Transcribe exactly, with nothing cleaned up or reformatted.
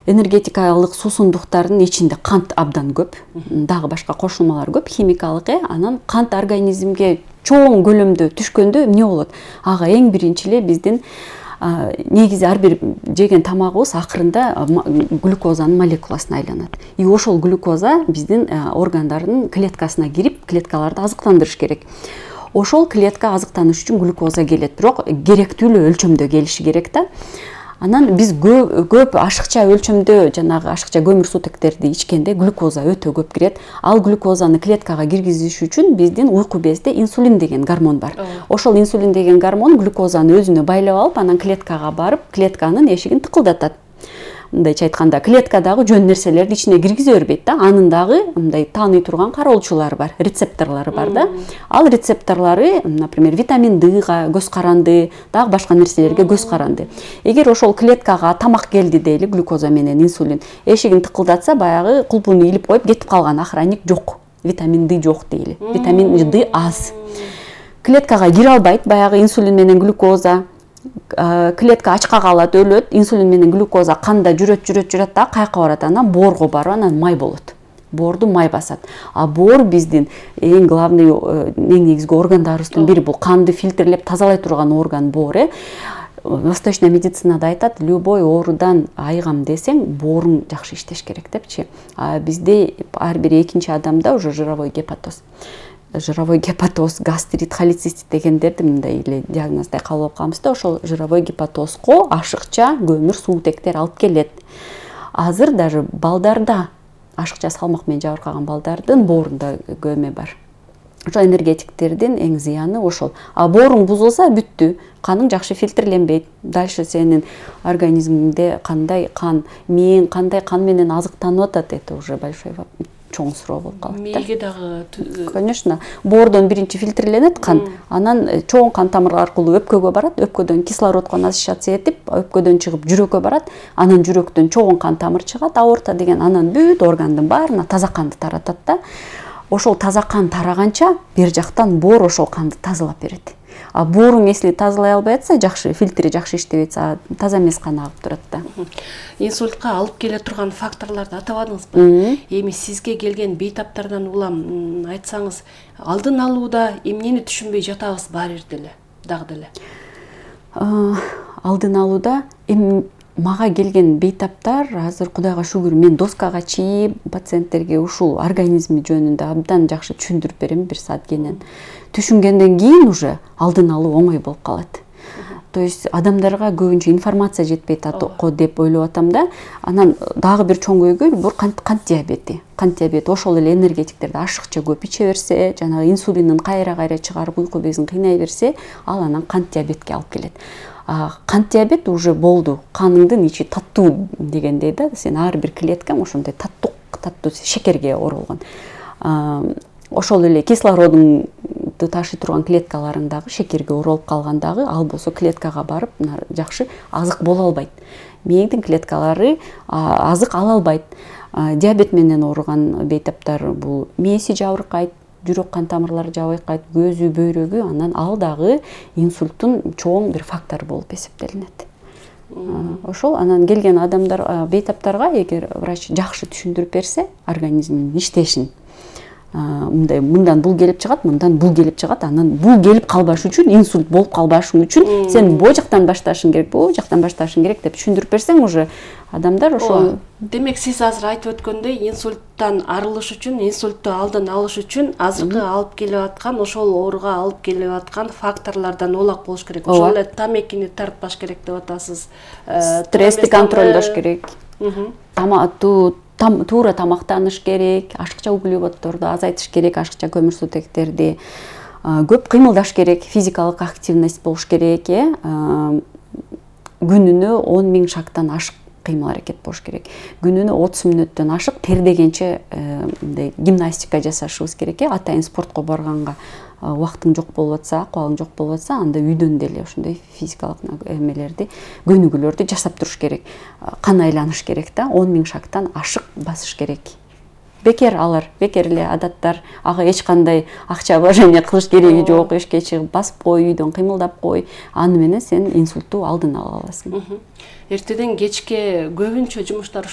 энергетикалык суусундуктардын ичинде кант абдан көп, дагы башка кошулмалар көп, химикалык э, анан кант организмге чоң көлөмдө түшкөндө эмне болот? Ага эң биринчи эле биздин негизи ар бир жеген тамагыбыз акырында глюкозанын молекуласына айланат. И ошол глюкоза биздин органдардын клеткасына кирип, клеткаларды азыктандырыш керек. Ошол клетка азыктаныш үчүн глюкоза келет, бирок керектүү эле өлчөмдө келиши керек да. Анан биз көп, көп ашыкча өлчөмдө жанагы ашыкча көмүрсутектерди ичкенде глюкоза өтө көп кирет. Ал глюкозаны клеткага киргизиш үчүн биздин уйку безде инсулин деген гормон бар. Ошол инсулин деген гормон глюкозаны өзүнө байлап алып, анан клеткага барып, клетканын эшигин тыкылдатат. Мындайча айтканда, клетка дагы жөн нерселерди ичине киргизе бербейт да. Анын дагы мындай тааный турган кароолчулары бар, рецепторлору бар да. Ал рецепторлору, например, витамин Дга көз каранды, дагы башка нерселерге көз каранды. Эгер ошол клеткага тамак келди дейли, глюкоза менен инсулин, эшигин тыкылдатса, баягы кулпуну илип коюп кетип калган охранник жок. Витамин Д жок дейли. Витамин Д аз. Клеткага кире албайт, баягы инсулин менен глюкоза. Клетка ачка калат, өлөт, инсулин менен глюкоза канда жүрөт, жүрөт, жүрөт да каяка барат, анан боорго барып, анан май болот. Боорду май басат. А боор биздин эң главный, эң негизги органдарыбыздын бири, бул канды фильтрлеп тазалай турган орган боор э. Восточный медицинада айтат, любой оорудан айыгам десең, бооруң жакшы иштеш керек депчи. А бизде ар бир экинчи адамда уже жировой гепатоз. Жировой гепатоз, гастрит, холецистит дегендерди мындай эле диагноздай кабыл алып калабыз да, ошол жировой гепатозго ашыкча көмүр суутектер алып келет. Азыр даже балдарда, ашыкча салмак менен жабыркаган балдардын боорунда көмө бар. Ошол энергетиктердин эң зыяны ошол. А бооруң бузулса бүттү, каның жакшы фильтрленбейт. Дальше сенин организмиңде кандай кан, мээң кандай кан менен азыктанып атат, это уже большой вопрос. Чоң суроо болуп калат. Мээге дагы конечно, боордон биринчи фильтрленет кан, анан чоң кан тамырлар аркылуу өпкөгө барат, өпкөдөн кислородко насыщаться этип, өпкөдөн чыгып жүрөккө барат, анан жүрөктөн чоң кан тамыр чыгат, аорта деген, анан бүт органдын баарына таза канды таратат да. Ошол таза кан тараганча бер жактан боор ошол канды тазалап берет. А бооруң если тазалай албай атса, жакшы фильтри жакшы иштебей атса, таза эмес кан агып турат да. Инсультка алып келе турган факторлорду атабадыңызбы? Эми сизге келген бейтаптардан улам айтсаңыз, алдын алууда эмнени түшүнбөй жатабыз баары деле, дагы деле? Алдын алууда эми мага келген бейтаптар азыр Кудайга шүгүр, мен доскага чийип пациенттерге ушул организми жөнүндө абдан жакшы түшүндүрүп берем бир саат кенен. Түшүнгөндөн кийин уже алдын алуу оңой болуп калат. То есть адамдарга көбүнчө информация жетпейт атко деп ойлоп атам да. Анан дагы бир чоң көйгөй бул кант диабети. Кант диабети ошол эле энергетиктерди ашыкча көп иче берсе, жанагы инсулиндин кайра-кайра чыгарып уйку безин кыйнай берсе, ал анан кант диабетке алып келет. Кант диабет уже болду, каныңдын ичи таттуу дегендей да, сен ар бир клеткаң ошондой таттуу, таттуу шекерге оролгон. Ошол эле кислородуңду ташый турган клеткаларың дагы шекерге оролуп калгандагы, ал болсо клеткага барып жакшы азык боло албайт. Мээңдин клеткалары азык ала албайт. Диабет менен ооруган бейтаптар бул мээси жабыркайт, жүрөк кан тамырлары жабыркайт, көзү, бөйрөгү, анан ал дагы инсульттун чоң бир фактору болуп эсептелинет. Ошол анан келген адамдар бейтаптарга эгер врач жакшы түшүндүрүп берсе, организмдин иштешин, мындай мындан бул келип чыгат, мындан бул келип чыгат, анан бул келип калбаш үчүн, инсульт болуп калбашың үчүн сен бул жактан башташың керек, бул жактан башташың керек деп түшүндүрүп берсең, уже адамдар ошол. Демек сиз азыр айтып өткөндөй, инсульттан арылыш үчүн, инсультту алдын алыш үчүн азыркы алып келип аткан, ошол ооруга алып келип аткан факторлордон улак болуш керек. Ошол эле тамекини тартпаш керек деп атасыз. Стрессти контролдош керек. Туура тамактаныш керек, ашыкча углеводдорду азайтыш керек, ашыкча көмүрсутектерди, көп кыймылдаш керек, физикалык активность болуш керек, э. Күнүнө он миң шагдан ашык кыймыл аракет болуш керек. Күнүнө отуз мүнөттөн ашык тердегенче мындай гимнастика жасашыбыз керек, э. Атайын спортко барганга убактың жок болуп атса, акыбалың жок болуп атса, анда үйдөн деле ошондой физикалык эмелерди, көнүгүүлөрдү жасап туруш керек. Кан айланыш керек да, он миң шагдан ашык басыш керек. Бекер алар, бекер эле адаттар, ага эч кандай акча вложение кылыш кереги жок, эшикке чыгып басып кой, үйдөн кыймылдап кой. Аны менен сен инсультту алдын ала аласың. Эртеден кечке көбүнчө жумуштар